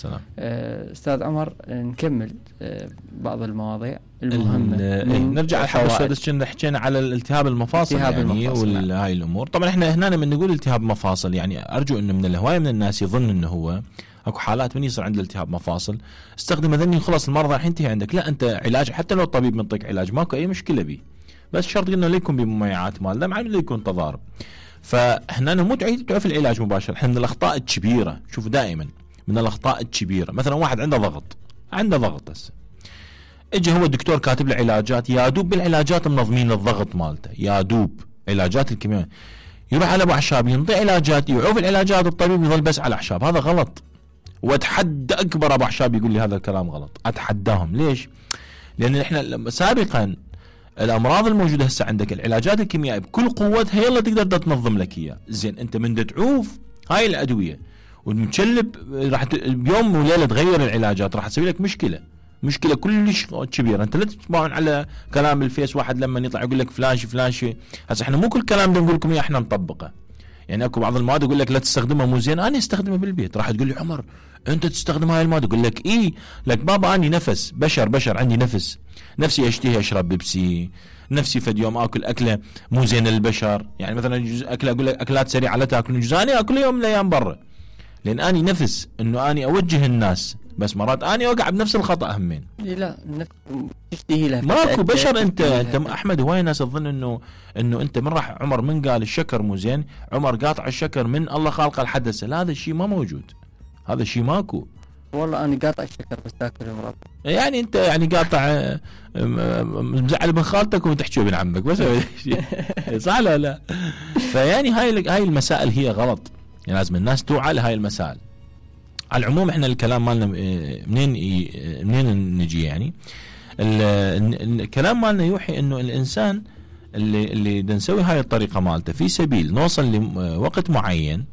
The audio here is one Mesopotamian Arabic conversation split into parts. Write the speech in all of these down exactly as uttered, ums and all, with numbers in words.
السلام. أستاذ عمر، نكمل بعض المواضيع المهمة. نرجع الحدث كنا حكينا على الالتهاب المفاصل يعني وهاي الأمور. طبعا احنا هنا من نقول التهاب مفاصل، يعني أرجو إنه من الهواية من الناس يظن إنه هو اكو حالات من يصير عنده التهاب مفاصل استخدم ذني خلاص المرضى راح ينتهي عندك. لا، انت علاج حتى لو الطبيب منطيك علاج ماكو اي مشكله به، بس شرط انه لا يكون بمميعات مال دم، لا يكون تضارب. فاحنا مو تعيد في العلاج مباشر. احنا من الاخطاء الكبيره، شوف دائما من الاخطاء الكبيره، مثلا واحد عنده ضغط عنده ضغط هسه اجى هو الدكتور كاتب له علاجات، يا دوب بالعلاجات منظمين الضغط مالته، يا دوب علاجات الكيميائيه، يروح على ابو اعشاب ينطي علاجات، يوقف العلاجات، الطبيب يظل بس على اعشاب. هذا غلط، واتحدى اكبر ابو اعشاب يقول لي هذا الكلام غلط، اتحداهم. ليش؟ لان احنا سابقا الامراض الموجوده هسه عندك العلاجات الكيميائيه بكل قوتها يلا تقدر تنظم لك اياه. زين انت من تعوف هاي الادويه والمتشلب راح بيوم وليله تغير العلاجات، راح تسوي لك مشكله مشكله كلش كبيره. انت لا تسمعون على كلام الفيس واحد لما يطلع يقول لك فلان شي فلان شي. هسه احنا مو كل كلام نقول لكم اياه احنا نطبقه، يعني اكو بعض المواد يقول لك لا تستخدمها مو زين، انا استخدمها بالبيت. راح تقول لي عمر انت تستخدم هاي المواد، اقول لك اي لك بابا اني نفس بشر بشر عندي نفس، نفسي اشتهي اشرب بيبسي، نفسي فد يوم اكل اكله مو زين للبشر، يعني مثلا جزء اكله اقول لك اكلات سريعه لا تاكل، جزء انا اكل يوم من الايام برا، لان اني نفس انه اني اوجه الناس، بس مرات اني اوقع بنفس الخطا همين. لا تشتهي لها ماكو بشر. انت انت احمد هواي ناس تظن انه انه انت من راح عمر من قال الشكر مو زين، عمر قاطع الشكر من الله خالقه الحدث. لا، هذا الشيء ما موجود، هذا الشيء ماكو. والله انا قاطع الشكر بس تاكل مرض. يعني انت يعني قاطع مزعل ابن خالتك وتحكي ابن عمك بس صح لا لا. فيعني هاي هاي المسائل هي غلط، يعني لازم الناس توعى لهاي المسائل. على العموم احنا الكلام مالنا منين منين نجي، يعني الكلام مالنا يوحي انه الانسان اللي اللي نسوي هاي الطريقه مالته في سبيل نوصل لوقت معين،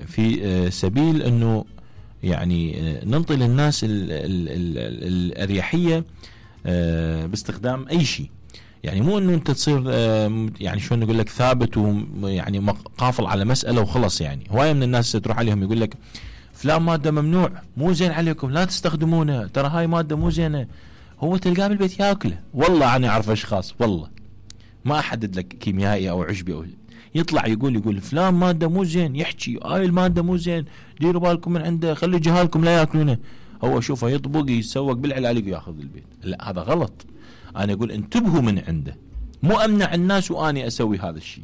في سبيل انه يعني ننطي للناس الاريحيه باستخدام اي شيء. يعني مو انه انت تصير يعني شو نقول لك ثابت ويعني قافل على مساله وخلص. يعني هوايه من الناس تروح عليهم يقول لك فلان ماده ممنوع مو زين عليكم لا تستخدمونه، ترى هاي ماده مو زينه. هو تلقاه بالبيت ياكله. والله انا اعرف اشخاص والله ما احدد لك كيميائي او عشبي او يطلع يقول يقول فلان ماده مو زين، يحكي هاي الماده مو زين ديروا بالكم من عنده، خلي جهالكم لا ياكلونه. هو شوفه يطبق يسوق بالعلاج وياخذ البيت. لا هذا غلط. انا اقول انتبهوا من عنده، مو امنع الناس واني اسوي هذا الشيء،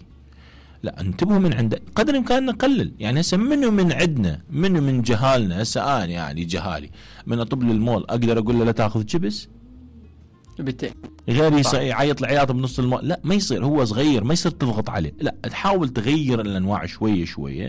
لا انتبهوا من عنده قدر الامكان نقلل. يعني هسه منه من عندنا منه من جهالنا. هسه انا يعني جهالي من اطب للمول اقدر اقول له لا تاخذ شيبس غير يعيط العياط بنص المول؟ لا ما يصير، هو صغير ما يصير تضغط عليه، لا تحاول تغير الانواع شويه شويه.